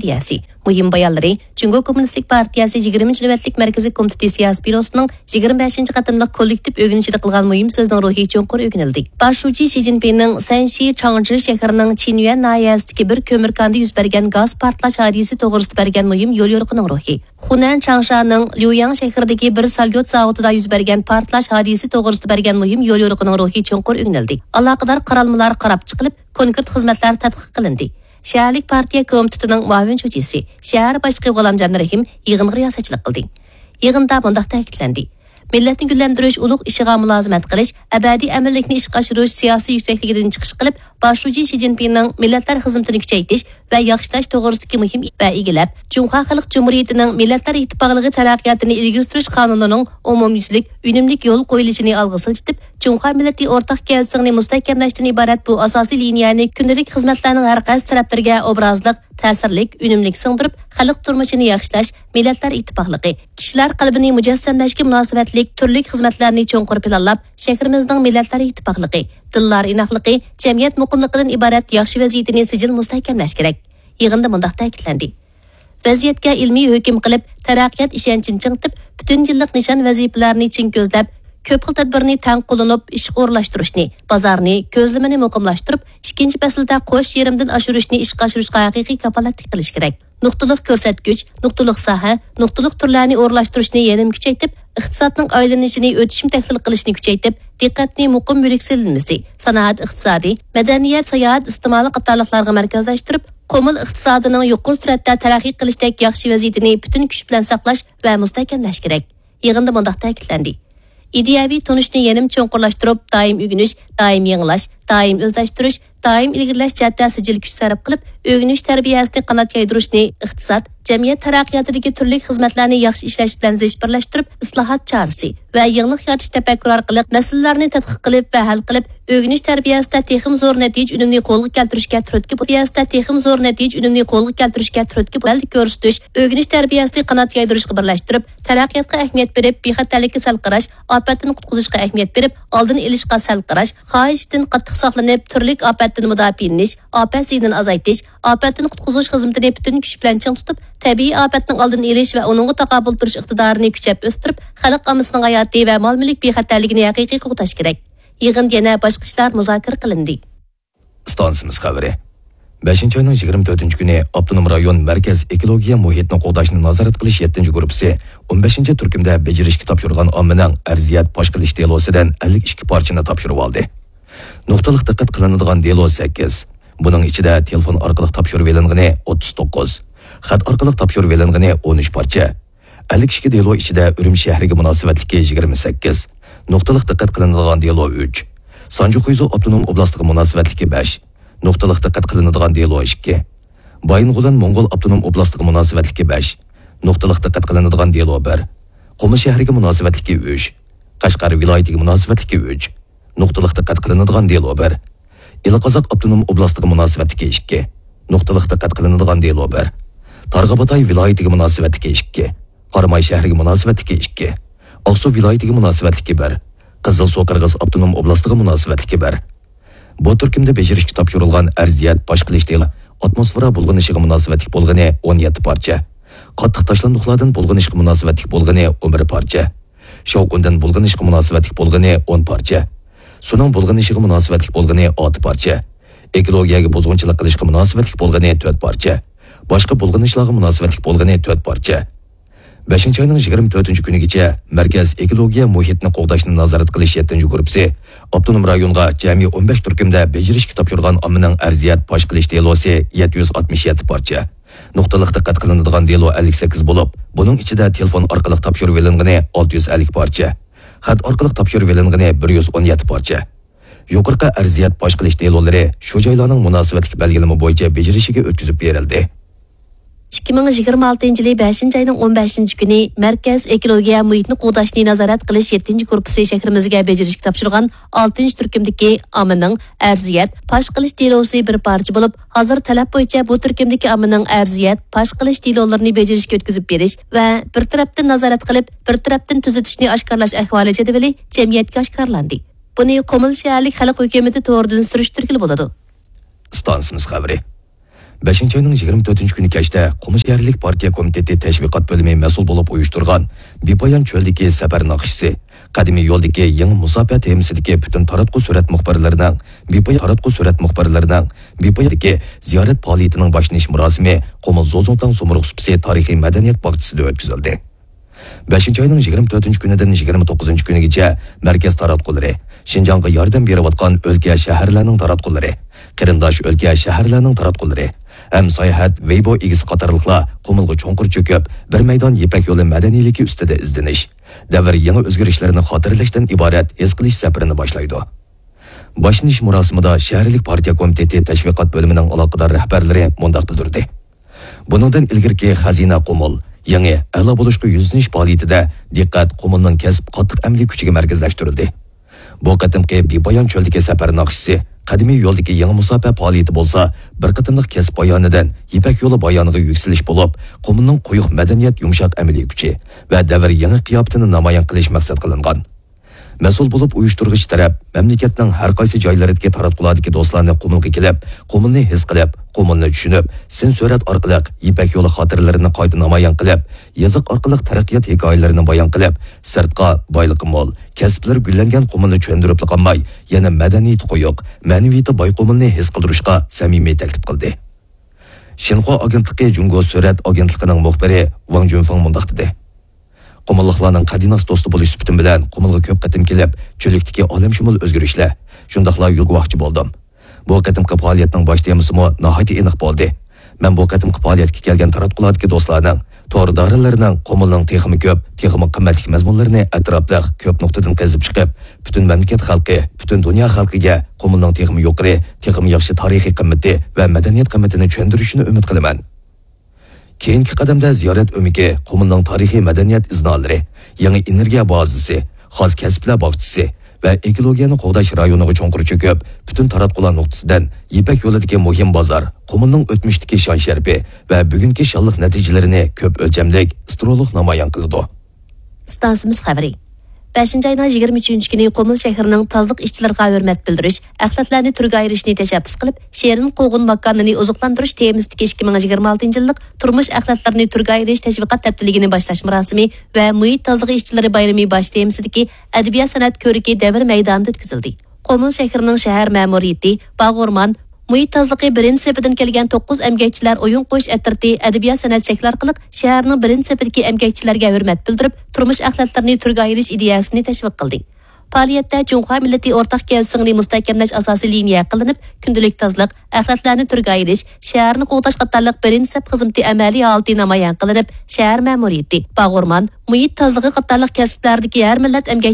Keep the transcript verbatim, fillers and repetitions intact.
ئىدىيەسى مۇھىم بايانلىرى، جۇڭگو كوممۇنىستىك پارتىيەسى يىگىرمىنچى نۆۋەتلىك مەركىزىي كومىتېتى سىياسىي بيۇروسىنىڭ يىگىرمە بەشىنچى قېتىملىق كوللېكتىپ ئۆگىنىشىدە قىلغان مۇھىم سۆزىنىڭ روھى چوڭقۇر ئۆگىنىلدى. باش شۇجى شى جىنپىڭنىڭ سەنشى چاڭجى شەھىرىنىڭ چىنيۈەن ناھىيەسىدىكى بىر كۆمۈر كاندا يۈز بەرگەن گاز پارتلاش ھادىسىسى توغرىسىدا بەرگەن مۇھىم يوليورۇقىنىڭ روھى، خۇنەن چاڭشانىڭ ليۇياڭ شەھىرىدىكى بىر ساليۇت زاۋۇتىدا يۈز بەرگەن پارتلاش ھادىسىسى توغرىسىدا بەرگەن مۇھىم يوليورۇقىنىڭ روھى چوڭقۇر ئۆگىنىلدى. ئالاقىدار قارالمىلار قاراپ چىقىلىپ، كونكرېت خىزمەتلەر تەتقىق قىلىندى. شەھەرلىك پارتىيە كومىتېتىنىڭ مۇئاۋىن شۇجىسى، شەھەر باشلىقى غۇلامجان رەھىم يىغىنغا رىياسەتچىلىك قىلدى. يىغىندا مۇنداق تەكىتلەندى: مىللەتنى گۈللەندۈرۈش، ئۇلۇغ ئىشىغا مۇلازىمەت قىلىش، ئەبەدىي ئەمىنلىكنى ئىشقا ئاشۇرۇش سىياسىي يۈكسەكلىكىدىن چىقىش قىلىپ، باش شۇجى شى جىنپىڭنىڭ مىللەتلەر خىزمىتىنى كۈچەيتىش ۋە ياخشىلاش توغرىسىدىكى مۇھىم ۋە ئىگىلەپ، جۇڭخۇا خەلق جۇمھۇرىيىتىنىڭ مىللەتلەر ئىتتىپاقلىقى تەرەققىياتىنى ئىلگىرى سۈرۈش قانۇنىنىڭ ئومۇميۈزلۈك، ئۈنۈملۈك يولغا قويۇلۇشىنى ئالغا سىلجىتىپ، جۇڭخۇا مىللىتى ئورتاق گەۋدىسىنى مۇستەھكەملەشتىن ئىبارەت بۇ ئاساسىي لىنىيەنى كۈندىلىك خىزمەتلەرنىڭ ھەر قايسى تەرەپلىرىگە ئوبرازلىق، تەسىرلىك، ئۈنۈملۈك سىڭدۈرۈپ، خەلق تۇرمۇشىنى ياخشىلاش، مىللەتلەر ئىتتىپاقلىقى، كىشىلەر قەلبىنى مۇجەسسەملەشكە مۇناسىۋەتلىك تۈرلۈك خىزمەتلەرنى چوڭقۇر پىلانلاپ، شەھىرىمىزنىڭ مىللەتلەر ئىتتىپاقلىقى، دىنلار ئىناقلىقى، جەمئىيەت مۇقىملىقىدىن ئىبارەت ياخشى ۋەزىيىتىنى سىجىل مۇستەھكەملەش كېرەك. يىغىندا مۇنداق تەكىتلەندى: ۋەزىيەتكە ئىلمىي ھۆكۈم قىلىپ، تەرەققىيات ئىشەنچىنى چىڭىتىپ، پۈتۈن يىللىق نىشان ۋەزىپىلەرنى چىڭ كۆزلەپ، كۆپ خىل تەدبىرنى تەڭ قوللىنىپ ئىشقا ئورۇنلاشتۇرۇشنى، بازارنى، كۆزلىمىنى مۇقىملاشتۇرۇپ، ئىككىنچى پەسىلدە قوش يېرىمدىن ئاشۇرۇشنى ئىشقا ئاشۇرۇشقا ھەقىقىي كاپالەتلىك قىلىش كېرەك. نۇقتىلىق كۆرسەتكۈچ، نۇقتىلىق ساھە، نۇقتىلىق تۈرلەرنى ئورۇنلاشتۇرۇشنى يەنىمۇ كۈچەيتىپ، ئىقتىسادنىڭ ئايلىنىشىنى ئۆتۈشمە تەھلىل قىلىشنى كۈچەيتىپ، دىققەتنى مۇقىم مۈلۈك سېلىنمىسى، سانائەت ئىقتىسادى، مەدەنىيەت، ساياھەت ئىستېمالى قاتارلىقلارغا مەركەزلەشتۈرۈپ، قۇمۇل ئىقتىسادىنىڭ يۇقىرى سۈرئەتتە تەرەققىي قىلىشتەك ياخشى ۋەزىيىتىنى پۈتۈن كۈچ بىلەن ساقلاش ۋە مۇستەھكەملەش كېرەك. يىغىندا مۇنداق تەكىتلەندى: ئىدىيەۋى تونۇشنى يەنىمۇ چوڭقۇرلاشتۇرۇپ، دائىم ئۆگىنىش، دائىم يېڭىلاش، دائىم ئۆزلەشتۈرۈش، دائىم ئىلگىرىلەش جەھەتتە سىجىل كۈچ سەرپ قىلىپ، ئۆگىنىش تەربىيەسىنى قانات يايدۇرۇشنى ئىقتىساد، جەمئىيەت تەرەققىياتىدىكى تۈرلۈك خىزمەتلەرنى ياخشى ئىشلەش بىلەن زىچ بىرلەشتۈرۈپ، ئىسلاھات چارىسى ۋە يېڭىلىق يارىتىش تەپەككۇرى ئارقىلىق مەسىلىلەرنى تەتقىق قىلىپ ۋە ھەل قىلىپ، ئۆگىنىش تەربىيەسىدە تېخىمۇ زور نەتىجە ئۈنۈمنى قولغا كەلتۈرۈشكە تۈرتكە بولۇش، تەربىيەسىدە تېخىمۇ زور نەتىجە ئۈنۈمنى قولغا كەلتۈرۈشكە تۈرتكە بولۇش، ئەمەلدە كۆرسىتىش، ئۆگىنىش تەربىيەسىنى قانات يايدۇرۇشقا بىرلەشتۈرۈپ، تەرەققىياتقا ئەھمىيەت بېرىپ، بىخەتەرلىككە سەل قاراش، ئاپەتتىن قۇتقۇزۇشقا ئەھمىيەت بېرىپ، ئالدىنى ئېلىشقا سەل قاراش، خاھىشتىن قاتتىق ساقلىنىپ، تۈرلۈك ئاپەتتىن مۇداپىئەلىنىش، ئاپەت زىيىنىنى ئازايتىش، ئاپەتتىن قۇتقۇزۇش خىزمىتىنى پۈتۈن كۈچ بىلەن چىڭ تۇتۇپ، تەبىئىي ئاپەتنىڭ ئالدىنى ئېلىش ۋە ئۇنىڭغا تاقابىل تۇرۇش ئىقتىدارىنى كۈچەپ ئۆستۈرۈپ، خەلق ئاممىسىنىڭ ھاياتى ۋە مال-مۈلۈك بىخەتەرلىكىنى ھەقىقىي قوغداش كېرەك. يىغىندا يەنە باشقا ئىشلار مۇزاكىرە قىلىندى. ئىستانسىمىز خەۋىرى. بەشىنچى ئاينىڭ يىگىرمە تۆتىنچى كۈنى ئاپتونوم رايون مەركەز ئېكولوگىيە مۇھىتنى قوغداشنى نازارەت قىلىش يەتتىنچى گۇرۇپپىسى ئون بەشىنچى تۈركۈمدە بېجىرىشكە تاپشۇرغان ئاممىنىڭ ئەرزىيەت پاش قىلىش دېلوسىدىن ئەللىك ئىككى پارچىنى تاپشۇرۇۋالدى. نۇقتىلىق دىققەت قىلىنىدىغان دېلو سەككىز. بۇنىڭ ئىچىدە تېلېفون ئارقىلىق تاپشۇرۇۋېلىنغىنى ئوتتۇز توققۇز، خەت ئارقىلىق تاپشۇرۇۋېلىنغىنى ئون ئۈچ پارچە، ئەللىك ئىككى دېلو ئىچىدە ئۈرۈمچى شەھىرىگە مۇناسىۋەتلىكى يىگىرمە سەككىز، نۇقتىلىق دىققەت قىلىنىدىغان دېلو ئۈچ، سانجى خۇيزۇ ئاپتونوم ئوبلاستىغا مۇناسىۋەتلىكى بەش، نۇقتىلىق دىققەت قىلىنىدىغان دېلو ئىككى، بايىنغولەن موڭغۇل ئاپتونوم ئوبلاستىغا مۇناسىۋەتلىكى بەش، نۇقتىلىق دىققەت قىلىنىدىغان دېلو بىر، قۇمۇل شەھىرىگە مۇناسىۋەتلىكى ئۈچ، قەشقەر ۋىلايىتىگە مۇناسىۋەتلىكى ئۈچ، نۇقتىلىق دىققەت قىلىنىدىغان دېلو بىر، ئىلى قازاق ئاپتونوم ئوبلاستىغا مۇناسىۋەتلىكى ئىككى، نۇقتىلىق دىققەت قىلىنىدىغان دېلو بىر، تارغا باتاي ۋىلايىتىگە مۇناسىۋەتلىكى ئىككى، قاراماي شەھىرىگە مۇناسىۋەتلىكى ئىككى، ئاقسۇ ۋىلايىتىگە مۇناسىۋەتلىكى بىر، قىزىلسۇ قىرغىز ئاپتونوم ئوبلاستىغا مۇناسىۋەتلىكى بىر. بۇ تۈركۈمدە بېجىرىشكە تاپشۇرۇلغان ئەرزىيەت پاش قىلىش دېلو ئاتموسفېرا بۇلغىنىشىغا مۇناسىۋەتلىك بولغىنى ئون يەتتە پارچە، قاتتىق تاشلاندۇقلاردىن بۇلغىنىشقا مۇناسىۋەتلىك بولغىنى ئون بىر پارچە، شاۋقۇندىن بۇلغىنىشقا مۇناسىۋەتلىك بولغىنى ئون پارچە، سۇنىڭ بۇلغىنىشىغا مۇناسىۋەتلىك بولغىنى ئالتە پارچە، ئېكولوگىيەگە بۇزغۇنچىلىق قىلىشقا مۇناسىۋەتلىك بولغىنى تۆت پارچە، باشقا بۇلغىنىشلارغا مۇناسىۋەتلىك بولغىنى تۆت پارچە. بەشىنچى ئاينىڭ يىگىرمە تۆتىنچى كۈنىگىچە مەركەز ئېكولوگىيە مۇھىتنى قوغداشنى نازارەت قىلىش يەتتىنچى گۇرۇپپىسى ئاپتونوم رايونغا جەمئىي ئون بەش تۈركۈمدە بېجىرىشكە تاپشۇرغان ئاممىنىڭ ئەرزىيەت پاش قىلىش دېلوسى يەتتە يۈز ئاتمىش يەتتە پارچە، نۇقتىلىق دىققەت قىلىنىدىغان دېلو ئەللىك سەككىز بولۇپ، بۇنىڭ ئىچىدە تېلېفون ئارقىلىق تاپشۇرۇۋېلىنغىنى ئالتە يۈز ئەللىك پارچە، خەت ئارقىلىق تاپشۇرۇۋېلىنغىنى بىر يۈز ئون يەتتە پارچە. يۇقىرىقى ئەرزىيەت پاش قىلىش دېلولىرى شۇ جايلارنىڭ مۇناسىۋەتلىك بەلگىلىمە بويىچە بېجىرىشىگە ئۆتكۈزۈپ بېرىلدى. ئىككى مىڭ يىگىرمە ئالتىنچى يىلى بەشىنچى ئاينىڭ ئون بەشىنچى كۈنى مەركەز ئېكولوگىيە مۇھىتنى قوغداشنى نازارەت قىلىش يەتتىنچى گۇرۇپپىسى شەھىرىمىزگە بېجىرىشكە تاپشۇرغان ئالتىنچى تۈركۈمدىكى ئاممىنىڭ ئەرزىيەت پاش قىلىش دېلوسى بىر پارچە بولۇپ، ھازىر تەلەپ بويىچە بۇ تۈركۈمدىكى ئاممىنىڭ ئەرزىيەت پاش قىلىش دېلولىرىنى بېجىرىشكە ئۆتكۈزۈپ بېرىش ۋە بىر تەرەپتىن نازارەت قىلىپ، بىر تەرەپتىن تۈزىتىشنى ئاشكارىلاش ئەھۋالى جەدۋىلى جەمئىيەتكە ئاشكارىلاندى. بۇنى قۇمۇل شەھەرلىك خەلق ھۆكۈمىتى تورىدىن سۈرۈشتۈرگىلى بولىدۇ. ئىستانسىمىز خەۋىرى. بەشىنچى ئاينىڭ يىگىرمە تۆتىنچى كۈنى كەچتە قۇمۇل شەھەرلىك پارتىيە كومىتېتى تەشۋىقات بۆلۈمى مەسئۇل بولۇپ ئۇيۇشتۇرغان بىپايان چۆلدىكى سەپەر ناخشىسى، قەدىمىي يولدىكى يېڭى مۇساپە تېمىسىدىكى پۈتۈن تاراتقۇ سۈرەت مۇخبىرلىرىنىڭ، بىپايان تاراتقۇ سۈرەت مۇخبىرلىرىنىڭ بىپاياندىكى زىيارەت پائالىيىتىنىڭ باشلىنىش مۇراسىمى قۇمۇل زوزۇڭتاڭ سۇمرۇغ سۇپىسى تارىخىي مەدەنىيەت باغچىسىدا ئۆتكۈزۈلدى. بەشىنچى ئاينىڭ يىگىرمە تۆتىنچى كۈنىدىن يىگىرمە توققۇزىنچى كۈنىگىچە مەركەز تاراتقۇلىرى، شىنجاڭغا ياردەم بېرىۋاتقان ئۆلكە، شەھەرلەرنىڭ تاراتقۇلىرى، قېرىنداش ئۆلكە، شەھەرلەرنىڭ تاراتقۇلىرى ھەم ساياھەت ۋېيبو ئىگىسى قاتارلىقلار قۇمۇلغا چوڭقۇر چۆكۈپ، بىر مەيدان يىپەك يولى مەدەنىيلىكى ئۈستىدە ئىزدىنىش، دەۋر يېڭى ئۆزگىرىشلىرىنى خاتىرىلەشتىن ئىبارەت ھېس قىلىش سەپىرىنى باشلايدۇ. باشلىنىش مۇراسىمىدا شەھەرلىك پارتىيە كومىتېتى تەشۋىقات بۆلۈمىنىڭ ئالاقىدار رەھبەرلىرى مۇنداق بىلدۈردى: بۇنىڭدىن ئىلگىرىكى خەزىنە قۇمۇل، يېڭى، ئەلا بولۇشقا يۈزلىنىش پائالىيىتىدە دىققەت قۇمۇلنىڭ كەسىپ قاتتىق ئەمەلىي كۈچىگە مەركەزلەشتۈرۈلدى. بۇ قېتىمقى بىپايان چۆلدىكى سەپەر ناخشىسى، قەدىمىي يولدىكى يېڭى مۇساپە پائالىيىتى بولسا بىر قېتىملىق كەسىپ بايانىدىن يىپەك يولى بايانىغا يۈكسىلىش بولۇپ، قۇمۇلنىڭ قويۇق مەدەنىيەت يۇمشاق ئەمەلىي كۈچى ۋە دەۋر يېڭى قىياپىتىنى نامايان قىلىش مەقسەت قىلىنغان. مەسئۇل بولۇپ ئۇيۇشتۇرغۇچى تەرەپ مەملىكەتنىڭ ھەر قايسى جايلىرىدىكى تاراتقۇلاردىكى دوستلارنى قۇمۇلغا كېلىپ، قۇمۇلنى ھېس قىلىپ، قۇمۇلنى چۈشىنىپ، سىن سۈرەت ئارقىلىق يىپەك يولى خاتىرىلىرىنى قايتا نامايان قىلىپ، يېزىق ئارقىلىق تەرەققىيات ھېكايىلىرىنى بايان قىلىپ، سىرتقا بايلىقى مول، كەسىپلىرى گۈللەنگەن قۇمۇلنى چۆندۈرۈپلا قالماي، يەنە مەدەنىيىتى قويۇق، مەنىۋىيىتى باي قۇمۇلنى ھېس قىلدۇرۇشقا سەمىمىي تەكلىپ قىلدى. شىنخۇا ئاگېنتلىقى جۇڭگو سۈرەت ئاگېنتلىقىنىڭ مۇخبىرى ۋاڭ جۈنفېڭ مۇنداق دېدى: قۇمۇللۇقلارنىڭ قەدىناس دوستى بولۇش سۈپىتىم بىلەن قۇمۇلغا كۆپ قېتىم كېلىپ، چۆللۈكتىكى ئالەمشۇمۇل ئۆزگىرىشلەر، شۇنداقلا يول گۇۋاھچى بولدۇم. بۇ قېتىمقى پائالىيەتنىڭ باش تېمىسىمۇ ناھايىتى ئېنىق بولدى. مەن بۇ قېتىمقى پائالىيەتكە كەلگەن تاراتقۇلاردىكى دوستلارنىڭ، تور دائىرىلىرىنىڭ قۇمۇلنىڭ تېخىمۇ كۆپ، تېخىمۇ قىممەتلىك مەزمۇنلىرىنى ئەتراپلىق، كۆپ نۇقتىدىن قېزىپ چىقىپ، پۈتۈن مەملىكەت خەلقى، پۈتۈن دۇنيا خەلقىگە قۇمۇلنىڭ تېخىمۇ يۇقىرى، تېخىمۇ ياخشى تارىخىي قىممىتى ۋە مەدەنىيەت قىممىتىنى چۈشەندۈرۈشىنى ئۈمىد قىلىمەن. كېيىنكى قەدەمدە زىيارەت ئۆمىكى قۇمۇلنىڭ تارىخىي مەدەنىيەت ئىزنالىرى، يېڭى ئېنېرگىيە بازىسى، خاس كەسىپلەر باغچىسى ۋە ئېكولوگىيەنى قوغداش رايونىغا چوڭقۇر چۆكۈپ، پۈتۈن تاراتقۇلار نۇقتىسىدىن يىپەك يولىدىكى مۇھىم بازار، قۇمۇلنىڭ ئۆتمۈشتىكى شان-شەرىپى ۋە بۈگۈنكى شانلىق نەتىجىلىرىنى كۆپ ئۆلچەملىك، ستېرېئولۇق نامايان قىلىدۇ. ئىستانسىمىز خەۋىرى. بەشىنچى ئاينىڭ يىگىرمە ئۈچىنچى كۈنى قۇمۇل شەھىرىنىڭ تازىلىق ئىشچىلىرىغا ھۆرمەت بىلدۈرۈش، ئەخلەتلەرنى تۈرگە ئايرىشنى تەشەببۇس قىلىپ، شېرىن قوغۇن ماكانىنى ئوزۇقلاندۇرۇش تېمىسىدىكى ئىككى مىڭ يىگىرمە ئالتىنچى يىللىق تۇرمۇش ئەخلەتلىرىنى تۈرگە ئايرىش تەشۋىقات ھەپتىلىكىنى باشلاش مۇراسىمى ۋە مۇھىت تازىلىقى ئىشچىلىرى بايرىمى باش تېمىسىدىكى ئەدەبىيات سەنئەت كۆرىكى دەۋر مەيدانىدا ئۆتكۈزۈلدى. قۇمۇل شەھىرىنىڭ شەھەر مەمۇرىيىتى، باغ ئورمان، مۇھىت تازىلىقى بىرىنچى سېپىدىن كەلگەن توققۇز ئەمگەكچىلەر ئويۇن قويۇش ئەترىتى ئەدەبىيات سەنئەت شەكلى ئارقىلىق شەھەرنىڭ بىرىنچى سېپىدىكى ئەمگەكچىلەرگە ھۆرمەت بىلدۈرۈپ، تۇرمۇش ئەخلەتلىرىنى تۈرگە ئايرىش ئىدىيەسىنى تەشۋىق قىلدى. پائالىيەتتە جۇڭخۇا مىللىتى ئورتاق كەلگۈسىنى مۇستەھكەملەش ئاساسىي لىنىيە قىلىنىپ، كۈندىلىك تازىلىق، ئەخلەتلەرنى تۈرگە ئايرىش، شەھەرنى قوغداش قاتارلىق بىرىنچى سەپ خىزمىتى ئەمەلىي ھالىتى نامايان قىلىنىپ، شەھەر مەمۇرىيىتى، باغ ئورمان، مۇھىت تازىلىقى قاتارلىق كەسىپلەردىكى ھەر مىللەت ئەمگەك